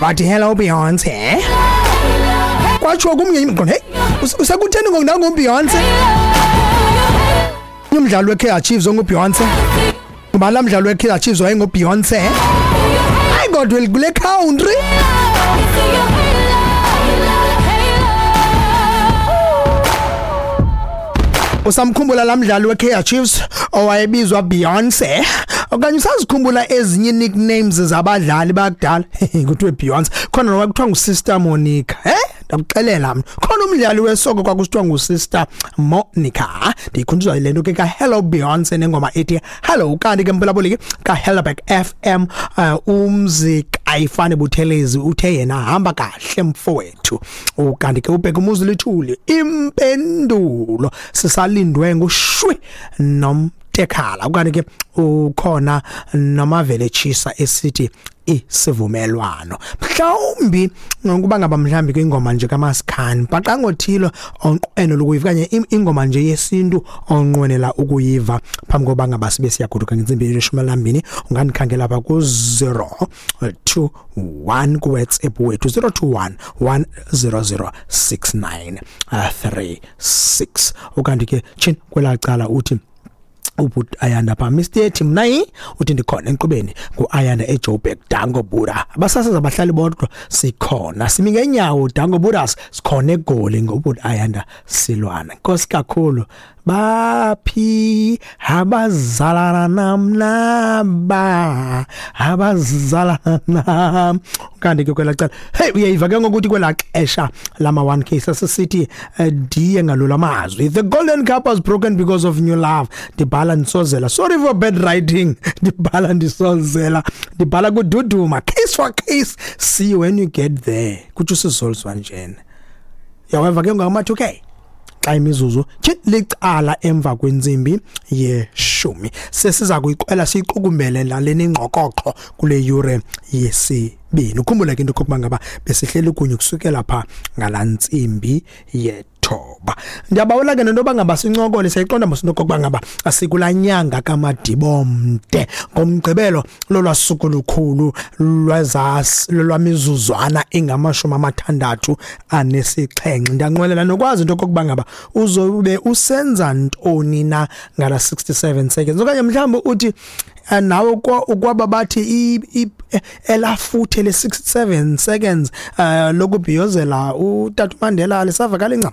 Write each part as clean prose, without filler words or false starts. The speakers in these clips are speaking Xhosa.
Bathi hello Beyonce. Kwatsho kumnye imqondo, hey, usekutheni ngoku nangu Beyonce? Umdlalo weKaizer Chiefs onguBeyonce. Ngubani laa mdlalo weKaizer Chiefs wayenguBeyonce? Hayi kodwa kule country. Usamkhumbula laa mdlali weKaizer Chiefs owayebizwa Beyonce? Okanye usazikhumbula ezinye nicknames zabadlali bakudala? Kuthiwe Beyonce. Khona nowa kuthiwa nguSister Monica. Eh? Ndakuxelela mna. Khona umdlali wesoko kwakusithiwa nguSister Monica. Ndiyikhunjuzwa le nto ke ka Hello Beyonce nengoma ethi Hello. Kanti ke mphulaphuli ke kaHelderberg FM, umzi kayifane Buthelezi uthe yena hamba kahle mfowethu. Ukanti ke ubheka umuzi lithuli impendulo sisalindwe ngushwi nomtekhala. Ukanti ke ukhona nomavele chisa esithi isivumelwano. Mhlawumbi ngokuba ngaba mhlawumbi kwingoma nje kaMasikhani bhaqangothilo onqwenela ukuyiva, okanye ingoma nje yesintu onqwenela ukuyiva phambi koba ngaba sibe siyagoduka ngentsimbi ye-12, ungandikhangela apha ku-021 kuWhatsApp wethu, 021 100 6936. Ukanti ke tshin kwelaa cala uthi ubhuti Ayanda pha, Mr T, mna yi uthi ndikhona enkqubeni, ngu-Ayanda eJoburg. Danko Buda, abasasazi abahlali bodwa, sikhona, simi ngenyawo. Danko Budas, sikhona eGoli, ngobhuti Ayanda Silwana. Nkosi kakhulu. Baphi abazalana namnaba abazalana nam? Kanti ke kwelaa cala, hey, uyayiva ke ngokuthi kwelaa xesha lama 1K sasisithi diye ngalula mazwi, "The golden cup was broken because of new love." Ndibhala ndisozela, sorry for bad writing, ndibhala ndisozela, ndibhala kududuma, case for case, see you when you get there, kutsho usizoliswa njena. Yaweva ke ngama 2K xa imizuzu tshi licala emva kwentsimbi ye-10, sesiza kuyiqwela siyiqukumbele laleni ingqokoqo kule yure yesibini. Ukhumbule ke into okokuba ngaba besihleli kunye kusukela pha ngalaa ntsimbi ye-9. Ndiyabawela ke nento yoba ngaba sincokole. Siyayiqonda mos into okokuba ngaba asikulaa nyanga kaMadibomde. Ngomgqibelo lolwaa suku lukhulu lolwamizuzwana engama-67. Ndiyanqwenela nokwazi into okokuba ngaba uzobe usenza ntoni na ngala 67 seconds, okanye mhlawumbi uthi nawe ukwaba bathi elafuthe le-67 seconds lokubhiyozela utata uMandela lisavakala incam.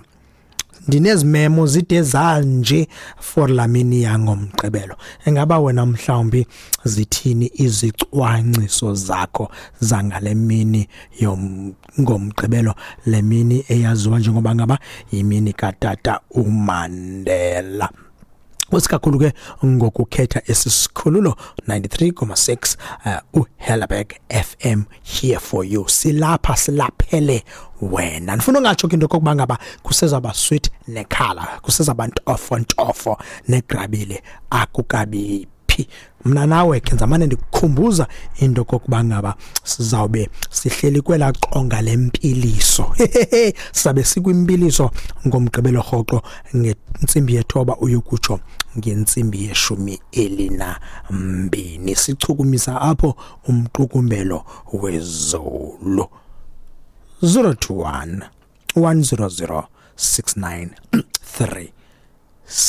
Ndinezimemo zide zanje for la mini yangomgqibelo. Engaba wena mhlawumbi zithini izicwangciso zakho zangale mini ngomgqibelo, le mini eyaziwa njengoba ngaba yimini katata uMandela? Usikakhulu ke ngokukhetha esi sikhululo 93.6 uHellerberg FM, here for you. Silapha silaphele wena. Ndifuna ungatsho ke into okokuba ngaba kusezaba sweet nekhala, kusezaba ntofo ntofo negrabile, akukabi phi. Mna nawe ke nzamane ndikukhumbuza into okokuba ngaba sizawube sihleli kwelaa qonga lempiliso. Sizabe sikwimpiliso ngomgqibelo rhoqo ngentsimbi ye-9 uyokutsho ngentsimbi ye-12, sichukumisa apho umqukumbelo wezulu. 021 100 6936.